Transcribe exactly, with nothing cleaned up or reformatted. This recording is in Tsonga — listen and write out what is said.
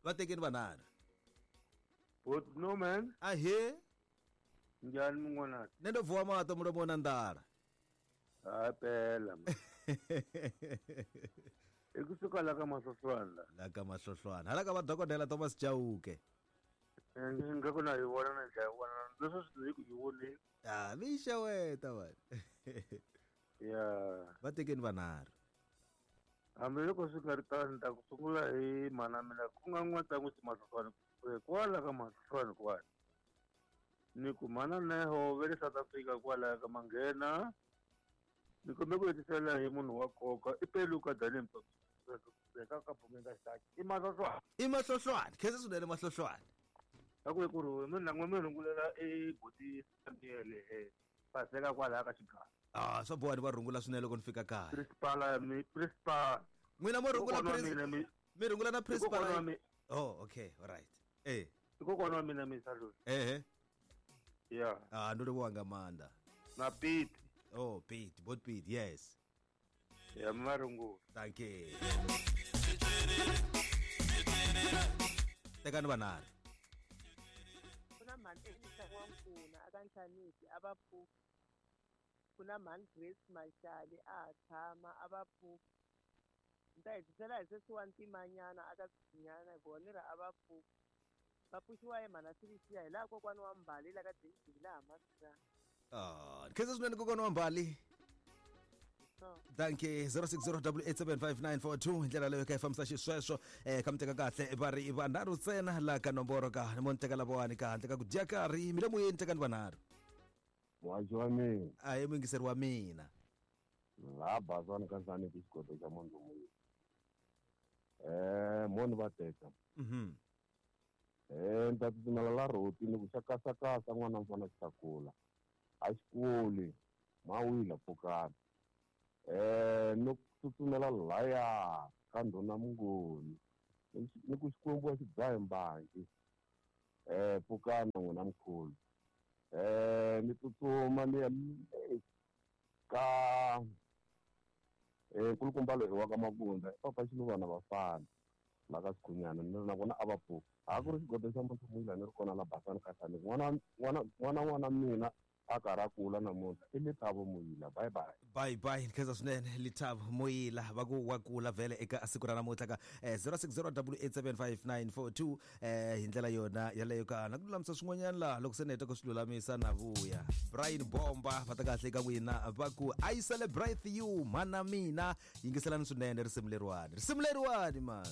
Va tekeni vanharhu. But no man. Ahe. Njhani mun'wana? Ne ndo vuwa mato mulomo na ndala. Ha pela. I kusuka la ka Mahlohlwana. La ka Mahlohlwana. Hala ka va dokodela Thomas Chauke. Nga ku na yi vona na ndlela vona. Leswi swi ku yi vone. Ah, mi xeweta vanhu. Ya. Va tekeni vanharhu. Hambi loko swi nga ri tano ni ta ku sungula hi mhana mina ku nga n'watsan'wisi Mahlohlwana kwala ka Mahlohlwana kwala. Ni ku mhana Neho ve le South Africa kwala ka Manghena. Ni kombe ku hetisela hi munhu wa nkoka i Peluka Daniel Mpaka ka Bumenga Xitaki. I Mahlohlwana. I Mahlohlwana. Khensa swinene Mahlohlwana. A ku ku ri mina n'we mi rhungulela e buti Samuel e paseka kwala ka Xigava. Ah, swa boha ni va rhungula swinene loko ni fika kaya. Principal mi principal. N'wina mo rhungula principal. Mi rhungula na principal. Oh, okay, all right. Eh. Kokwana wa mina mi salute. Eh eh. Yeah. Ah, ndo livhuwa nga maanḓa. Na Pete. Oh, Pete, both Pete, yes. Yeah, marungu. Thank you. Tekani vanharhu. Kuna mhani Elisa N'wankuna aka Nhlanisi a va pfuka. Kuna mhani Grace Mashali a ha tshama a va pfuka. Ni ta hetisela hi sesi wa Ntimanyana aka Tshinyana hikuva ni ri a va pfuka. Va pfuxiwa hi mhana Silisiya hi laha kokwana wa Mbali la ka David laha Masirha. Ah, khensa swinene kokwana wa Mbali. Thank you. zero six zero eight eight seven five nine four two hi ndlela leyo ka yi fambisa xisweswo eh ka mi teka kahle va ri vanharhu ntsena la ka nomboro ka ni mo ni teka lavawani ka handle ka ku dya karhi mi le moyeni tekani vanharhu. Muhaxi wa mina. A hi muyingiseri wa mina. Laha Basani ka Nhlanisi xigodo xa Mondzomuyi. Eh mo ni va teka. Mhm. Eh ni ta tsutsumela la rhoti ni ku xa kasakasa n'wana mfana xi ta kula. A xi kuli mawila pfukani. Eh no tsutsumela laya ka ndhuna Mungoni ni ku Xikwembu a xi dzahe mbangi. Eh pfukani n'wina mkhulu. Eh ni tsutsuma ni ya ka eh nkulukumba loyi wa ka Mabunda papa Xiluvana vafana la ka Sikhunyana ni ri na vona a va pfuka. A ku ri xigodo xa Mondzomuyi ni ri kona la Basani ka Nhlanisi. N'wana n'wana n'wana n'wana mina a karhi a kula namuntlha i Lethabo Moyila. Bye bye. Bye bye. Khensa swinene Lethabo Moyila va ku wa kula vhele eka siku ra namuntlha ka zero six zero eight seven five nine four two eh hi ndlela yona yaleyo ka na ku lulamisa swin'wanyana laha loko se ni heta ku swi lulamisa na vuya. Brian Bomba va ta kahle ka n'wina va ku I celebrate you mhana mina. Yingiselani swinene risimu leriwani. Risimu leriwani man.